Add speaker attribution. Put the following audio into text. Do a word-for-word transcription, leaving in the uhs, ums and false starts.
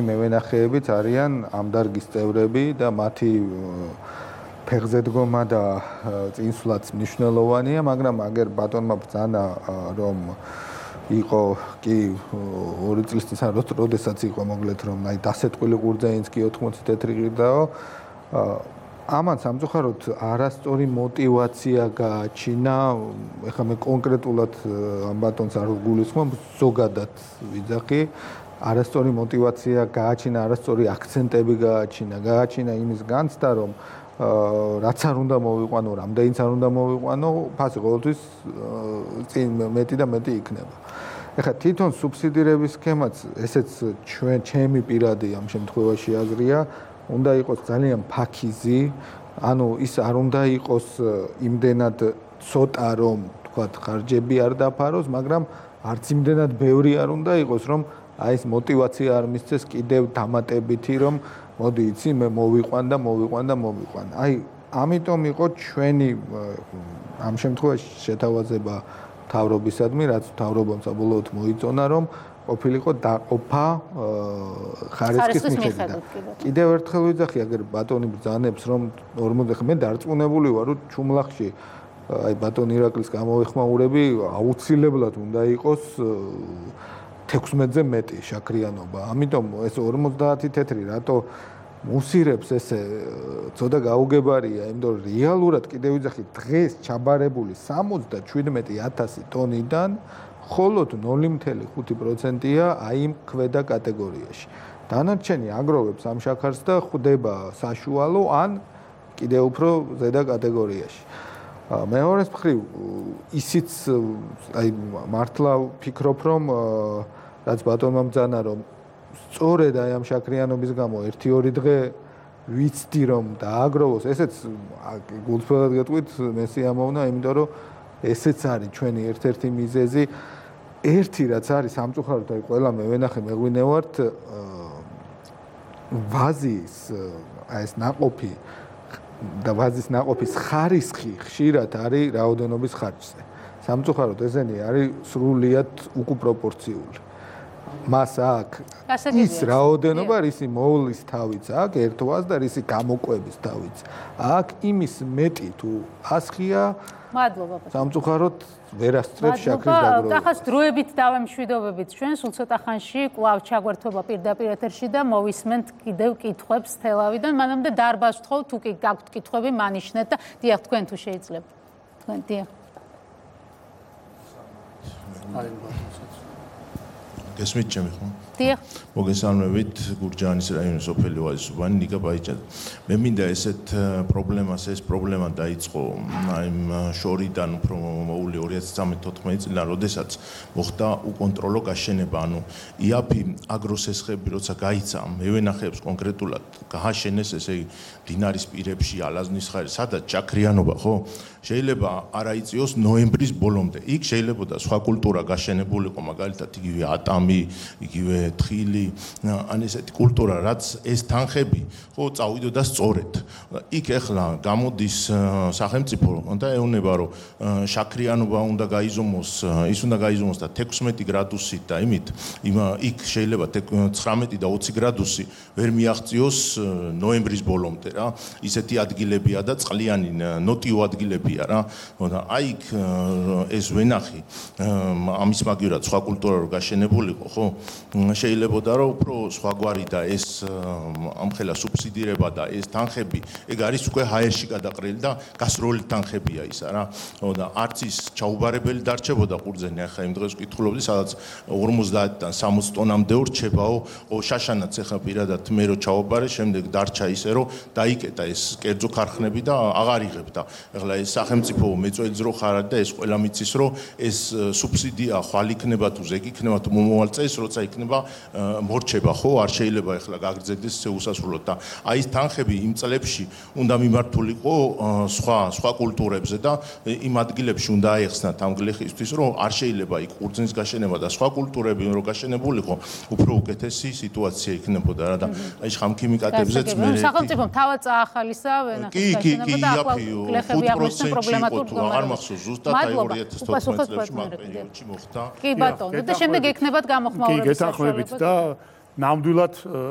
Speaker 1: მევენახეებიც არიან ამ დარგის წევრები და მათი ფეხზე დგომა და წინსვლაც მნიშვნელოვანია, მაგრამ აგერ ბატონმა ბრძანა რომ იყო კი ორი წლის წინ როდესაც იყო მოკლედ რომ აი დასეტყვილი ყურძენიც კი ოთხმოცი თეთრი ღირდაო ამან სამწუხაროდ არასწორი мотиваცია გააჩინა, ეხლა მე კონკრეტულად ამ ბატონს არ გულისხმობ, ზოგადად ვიძახი, არასწორი мотиваცია გააჩინა, არასწორი აქცენტები გააჩინა, გააჩინა იმის განცდა, რომ რაც არ უნდა მოვიყვანო, რამდენიც არ უნდა მოვიყვანო, ფასი ყოველთვის წინ მეტი და მეტი იქნება. ეხლა თვითონ სუბსიდირების სქემაც, ესეც ჩვენ ჩემი პირადი ამ შემთხვევაში აზრია, უნდა იყოს ძალიან ფაქიზი, ანუ ის არ უნდა იყოს იმდენად ცოტა, რომ თქვათ ხარჯები არ დაფაროს, მაგრამ არც იმდენად ბევრი არ უნდა იყოს, რომ აი ეს мотиваცია არ მისცეს კიდევ დამატებითი, რომ მოდი იცი მე მოვიყვან და მოვიყვან და მოვიყვან. აი, ამიტომ იყო ჩვენი ამ შემთხვევაში შეთავაზება მთავრობისადმი, რაც მთავრობამ საბოლოოდ მოიწონა, რომ ყოფილიყო დაყოფა ხარისხის მიხედვით. კიდევ ერთხელ ვიძახი, აგერ ბატონი ბრძანებს, რომ ორმოდი მე დარწმუნებული ვარ, რომ ჩუმლახში აი ბატონ ირაკლის გამოეხმაურები აუცილებლად უნდა იყოს თექვსმეტზე მეტი შაქრიანობა. ამიტომ ეს ორმოცდაათი თეთრი რატო მუსირებს ესე ცოტა გაუგებარია, იმიტომ რომ რეალურად კიდევ ვიძახი დღეს ჩაბარებული სამოცდაშვიდმეტი ათასი ტონიდან მხოლოდ ნული თხელი ხუთი პროცენტია აი იმ ქვედა კატეგორიაში. დანარჩენი აგროვებს ამ შაქარს და ხვდება საშუალო ან კიდევ უფრო ზედა კატეგორიაში. მეორეს მხრივ ისიც აი მართლა ვფიქრობ, რომ რაც ბატონმა ბრძანა, რომ სწორედ აი ამ შაქრიანობის გამო ერთი-ორი დღე ვიცდი რომ დააგროვოს, ესეც გულწრფელად გეტყვით, მე სიამოვნა, იმიტომ რომ ესეც არის ჩვენი ერთ-ერთი მიზეზი. ერთი რაც არის სამწუხაროდ, აი ყველა მე ვენახე, მე გვინევართ ვაზის აი ეს ნაყოფი და ვაზის ნაყოფის ხარისხი ხშირად არის რაოდენობის ხარჯზე. სამწუხაროდ ესენი არის სრულიად უკუპროპორციული. მას აქვს ის რაოდენობა, რისი მოვლის თავიც აქვს ერთვას და რისი გამოკვების თავიც აქვს იმის მეტი თუ ასხია.
Speaker 2: მადლობა.
Speaker 1: სამწუხაროდ ვერასწრებს შაქრის დაგროვებას.
Speaker 2: ახაც დროებით დავემშვიდობებით ჩვენ, სულ ცოტა ხანში კვლავ ჩაგვერთვება პირდაპირ ეთერში და მოვისმენთ კიდევ კითხვებს თელავიდან. მანამდე დარბაზ ვთხოვთ, თუ კი გაქვთ კითხვები, მანიშნეთ და დიახ, თქვენ თუ შეიძლებთ. თქვენ დიახ.
Speaker 3: გესმით ჩემი ხო?
Speaker 2: დიახ.
Speaker 3: მოგესალმებით, გურჯაანის რაიონის სოფელი ვაზისუბანი, ნიკა ბაიჭაძე. მე მინდა ესეთ პრობლემას, ეს პრობლემა დაიწყო აი შორიდან უფრო მოული ორი ათი თერთმეტ წლიდან, როდესაც მოხდა უკონტროლო გაშენება, ანუ იაფი აგროსესხები როცა გაიცა, მევენახეებს კონკრეტულად გააშენეს, ესე იგი დინარის პირებში, ალაზნის ხარი, სადაც შაქრიანობა, ხო? შეიძლება არა იწიოს ნოემბრის ბოლომდე. იქ შეიძლება და სხვა კულტურა გაშენებულიყო, მაგალითად იგივე ატამი, იგივე თხილი, ან ესეთი კულტურა, რაც ეს თანხები ხო წავიდოდა სწორედ. იქ ახლა გამოდის სახელმწიფო და ეუბნება, რომ შაქრიანობა უნდა გაიზომოს, ის უნდა გაიზომოს და თექვსმეტი გრადუსით და იმით, იქ შეიძლება ცხრამეტი და ოცი გრადუსი ვერ მიაღწიოს ნოემბრის ბოლომდე რა. ისეთი ადგილებია და წყლიანი ნოტიო ადგილებია რა. აი იქ ეს ვენახი ამის მაგივრად სხვა კულტურა რო გაშენებულიყო, ხო? შეიძლება და რომ უფრო სხვაგვარი და ეს ამხელა სუბსიდირება და ეს თანხები, ეგ არის უკვე ჰაერში გადაყრილი და გასროლი თანხებია ისა რა. და არც ის ჩაუბარებელი დარჩებოდა ყურძენი, ახლა იმ დღეს ვკითხულობდი, სადაც ორმოცდაათიდან სამოცი ტონამდე ურჩებაო, შაშანაც ახლა პირადად მე რო ჩაუბარე, შემდეგ დარჩა ისე რომ დაიკეტა ეს კერძო ქარხნები და აღარ იღებ და ახლა ეს სახელმწიფო მეწვეულს რო ხარ და ეს ყველა მიცის რომ ეს სუბსიდია ხვალ იქნება თუ ზეგ იქნება თუ მომავალ წელს როცა იქნება მორჩება ხო არ შეიძლება ახლა გაგრძელდეს უსასრულოდ და აი ეს თანხები იმ წლებში უნდა მიმართულიყო სხვა სხვა კულტურებზე და იმ ადგილებში უნდა აეხსნათ ამ გლეხისთვის რომ არ შეიძლება იქ ყურძნის გაშენება და სხვა კულტურები რო გაშენებულიყო უფრო უკეთესი სიტუაცია იქნებოდა რა და აი ხამქიმიკატებზეც მე
Speaker 2: სახელმწიფომ თავად წაახალისა ვენახის გაშენება და ახლა გლეხები აღნიშნა პრობლემატურ
Speaker 3: არ მახსოვს ზუსტად აი ორი ათი თოთხმეტ წელს მაგ პერიოდში მოხდა
Speaker 2: კი ბატონო და შემდეგ ექნებათ გამოხმაურების
Speaker 4: საშუალება. კი, გეთანხმებით და ნამდვილად